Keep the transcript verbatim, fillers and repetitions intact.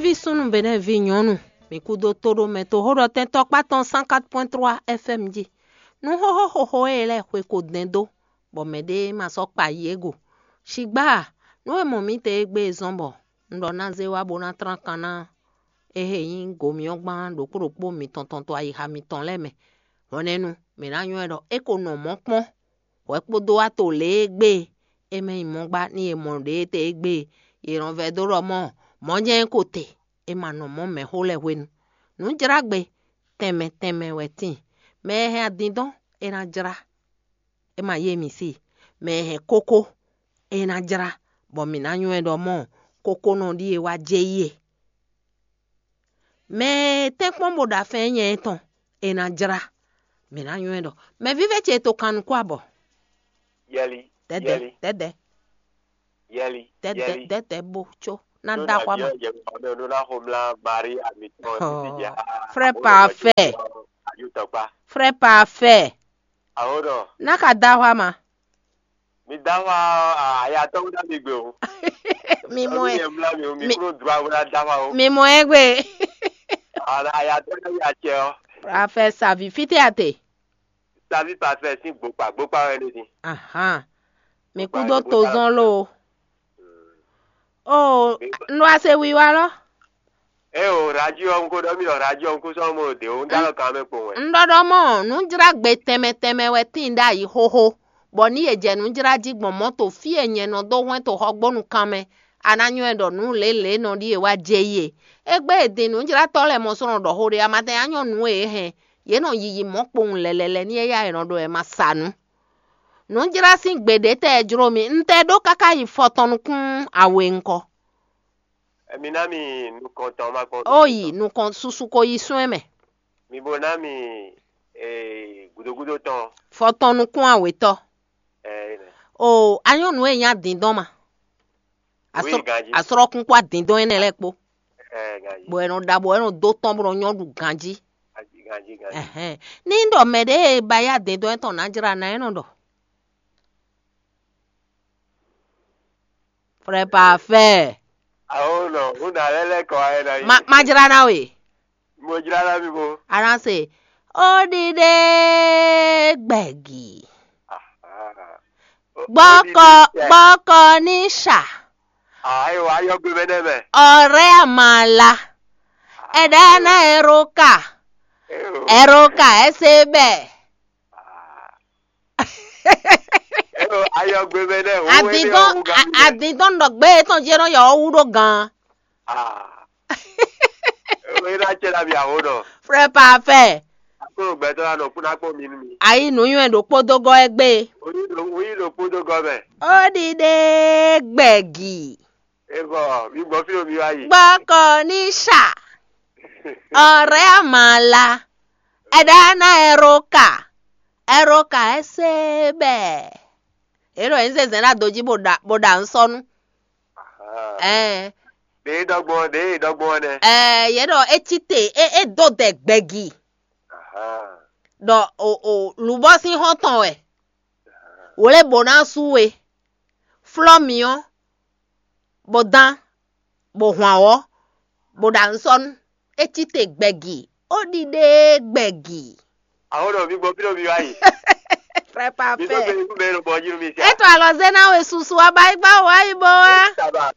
Ví súnnu Benɛ́ɛ ví nyɔ̌nu, mǐ kúdó tóɖomɛ toxóɖɔtɛn tɔkpá tɔn cent quatre point trois F M jí. Nú xóxó xóxó e lɛ́ɛ xwe ko dɛn dó, bɔ mɛɖé ma sɔ́ kpa yi é go. Shigbá, nǔ e mɔ mǐ te égbé e zɔ́n bɔ un ɖɔ ná zé wá bó ná tlán kan ná é he nyí gomyɔ́gbán ɖokpó ɖokpó mitɔn tɔn to ayixa mitɔn lɛ́ɛ mɛ. Hwɛnɛnu, mǐ ná nywɛ́ ɖɔ é ko nɔ mɔ̌ kpɔ́n. Hwɛ kpódó wá to lě e gbé e mɛ nyi mɔ̌ gbá n'i e mɔ ɖě tɛ́ e gbé e è nɔ vɛdó ɖɔ mɔ̌ mɔ̌ jɛ́n é ko te, è ma nɔ mɔ̌ mɛ̌xó lɛ́ɛ hwenu. Nǔjlágbe tɛnmɛ tɛnmɛ wɛ tíin. Mɛ e hɛn adindɔn é ná jlá, é ma yé mǐ si. Mɛ e hɛn kókó é ná jlá, bɔ mǐ ná nywɛ́ ɖɔ mɔ̌ kókónɔ ɖíe wá jɛ yí e. Mɛ e tɛ́nkpɔ́n bó ɖo afɛ́n nyɛ tɔn, è nǎ jlá. Mǐ ná nywɛ́ ɖɔ mɛ vívɛ́ ce to kan nukún abɔ. Yɛli, Dɛdɛ, yɛli, dɛdɛ, yɛli, dɛdɛ, yɛli. Dɛdɛ bo tso ná Ɖó da xwa mɔ. nǎ byɔ́ yɛ ɔ́ mɛ ɖó ná xomlá Marie amitɔn Oh, títí jà. Frère parfait. Ayutɔkpa. Frère parfait. Awo ɖɔ. Ná ka da xwa ma. Mi da xwa ayatɔ́ ná mi gbe o. Mi mɔ Ɔlú ɛ. yɛ mlá mi o, mi Mi- kúrò dua wla da xwa o. Mi mɔ ɛ gbe. Ala ayatɔ́ ná mi acɛ ɔ. Parfait savi fite ate. Savi parfait sín gbokpa, gbokpa wɛ ní dín. Ahan. Mi Gbokpa kúdó wɛ ní to bó zɔn lo. O, n ɖo ase wiwa lɔ. Ɛ o radio ɔ́, n ko ɖɔ mi ɖɔ radio ɔ́, n kú sɔ́ mo ɖe o, n dá lɔ kan mɛ kpowun wɛ. N ɖɔ ɖɔ mɔ nǔjlágbe tɛnmɛ tɛnmɛ wɛ tíin ɖ'ayǐ xóxó, bɔ ní yě jɛ nǔ jlá jí gbɔn mɔ̌ to fí e nyɛ nɔ dó hwɛ́n to xɔgbónu kan mɛ, a ná nywɛ́ ɖɔ nǔ lělě nɔ ɖíe wá jɛ yí e. Égbé e din nǔjlátɔ́ lɛ́ɛ mɔ sɔ́ nɔ ɖɔ xó ɖé, a ma tɛn nyá nyɔ́ nǔ e é hɛn, yě nɔ yiyi mɔ̌ kpowun lɛlɛlɛ ní éyá è nɔ ɖɔ wɛ ma sa nǔ. Nǔjlá sín gbe ɖě tɛ jló mi, un tɛ ɖó káká yi fɔ tɔn nukún awe ŋkɔ. Emi ná mi nukɔntɔn ma kpɔn. Ó yi nukɔn susu ko yi sún ɛ mɛ. Mi bo ná mi ee, gudogudo tɔn. Fɔ tɔn nukún awetɔ. Ɛ, O, anyɔ́nu e nyá dindɔn ma. Oui, ganji. Asrɔ́kún kpó adindɔn énɛ́ lɛ́ɛ kpó. Ɛ, ganji. Bɔ ɛ nɔ ɖa bɔ ɛ nɔ dó tɔn bó nɔ nyɔ́ ɖu ganjí. Ganji, ganji, ganji. Ɛhɛn. Ní ɖɔ mɛ ɖé e ba yá dindɔn étɔn ná jlá ná é nɔ ɖɔ. Frère parfait. Awo nɔ, n na lɛ lɛ kɔ ayɛ na yi. Ma ma jlá ná we. Mo jla na mi bo. Aranse. Ó ɖiɖe gbɛgi. Ah. Gbɔkɔ gbɔkɔ ní ṣà. Ayi wa yɔ gbe mɛ nɛ mɛ. Ọ̀rẹ́ àmàlà. Ẹ̀dá náà ẹ̀rọ kà. Eyo. Ẹ̀rọ kà ẹ ṣe bẹ́ẹ̀. Eyo ayɔ gbe mɛ nɛ. Adindɔn adindɔn ɖɔ gbé etɔn jẹ́ náà yọ ọ́ wú ɖó gan. Eyo e na cɛ la bi awo nɔ. Frère parfait. Akpɔ gbɛtɔ la nɔ kuna kpɔ mi nu mi. Ayi nuyɔn ɖokpó dó gɔ ɛ gbé. Oyi lo oyi lo kpo do gɔmɛ. Ó ɖiɖe gbɛgi. Evɔ mi gbɔ fi o mi wa yi. Gbɔkɔ ní ṣà. Ọ̀rẹ́ àmàlà. Ẹ̀dá náà ẹ̀rọ kà. Ẹ̀rọ kà ẹ ṣe bẹ́ẹ̀. Èrò ẹ̀ ń zẹ̀zẹ̀ náà dojí bó ɖà bó ɖà ń sọnú. Ẹ̀ De dɔgbɔn de dɔgbɔn nɛ. Ẹ̀ yě ɖɔ é cí te é é dó dɛ gbɛgi. Ɖɔ o o lǔbɔ́ sín xɔ́ntɔn wɛ. Wǒ lé bó ná sú we. Flɔ́ mǐ ɔ́, bó dán, bó hwan wɔ̌, bó ɖa nǔ sɔ́ nú. É cí te gbɛgi, ó ɖiɖe gbɛgi. Awo nɔ mi gbɔ fi o mi wa yi. Frère Mi gbɔ parfait. fi mi gbɛ lo bɔ ji nu mi sia. Eto alɔ zé na we susu aba yi gba wa yi bo wa. Saba.